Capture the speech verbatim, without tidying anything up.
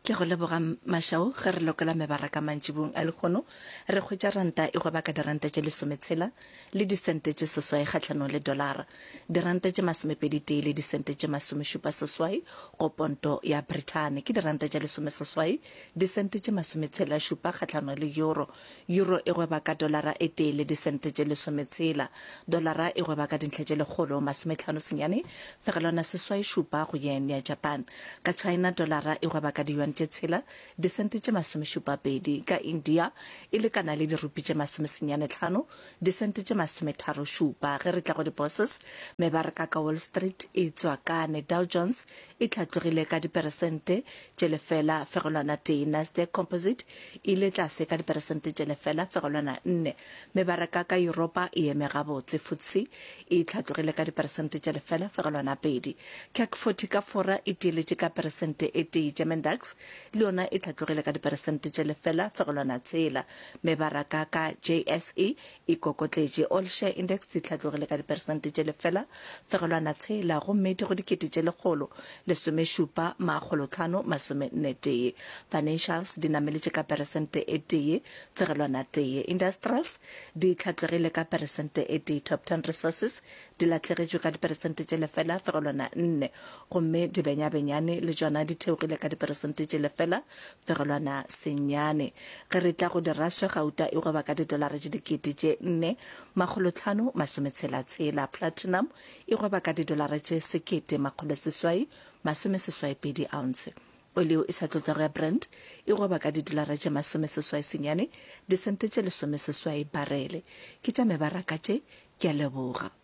Ke go leboga Mashao. Ge re lokola mebaraka mantšibong a lehono, re hwetša ranta e gweba ka diranta tše lesometshela le disente tše seswai kgahlanong le dolara, diranta tše masomepedi tee le disente tše masomešupa seswai go ponto ya Brithani, ke diranta tše lesomeseswai disente tše masometshela šupa kgahlanong le euro. Euro e gweba ka dolara e tee le disente tše lesometshela. Dolara e gweba ka dintlha tše lekgolo masometlhano senyane fegelwana seswai šupa go yen ya Japan. Ka China dolara e gweba ka diyuan tše tshela disente tše masomešupa pedi. Ka India e lekana le dirupi tše masomesenyane tlhano disente tše masometharo šupa. Ge re tla go di-bourses, mebaraka ka Wall Street e tswakane. Dow Jones e hlatlogile ka diperesente tše lefela fegelwana tee. Nasdaq Composite e ile tlase ka diperesente tše lefela fegelwana nne. Mebaraka ka Yuropa e eme gabotse. FTSE e hlatlogile ka diperesente tše lefela fegelwana pedi. CAC forty ka Fora e tieletše ka peresente e tee. German DAX le yona e hlatlogile ka diperesente tše lefela fegelwana tshela. Mebaraka ka J S E e kokotletše. All Share Index di hlatlogile ka diperesente tše lefela fegelwana tshela gomme di go dikete tše lekgolo lesomešupa makgolo tlhano masome nne tee. Financials di nameletše ka peresente e tee fegelwana tee. Industrials di hlatlogile ka peresente e tee. Top Ten Resources di lahlegetšwe ka diperesente tše lefela fegelwana nne gomme dibenyabenyane le tšona di theogile ka diperesente tše lefela fegelwana senyane. Ge re tla go diraswe, gauta e gweba ka didolara tše dikete tše nne makgolo tlhano masometshela tshela. Platinum e gweba ka didolara tše sekete makgolo seswai masome seswai pedi ounce. Oli e sa tlotlwago ya Brent e gweba ka didolara tše masome seswai senyane disente tše lesome seswai barele. Ke tša mebaraka tše, ke a leboga.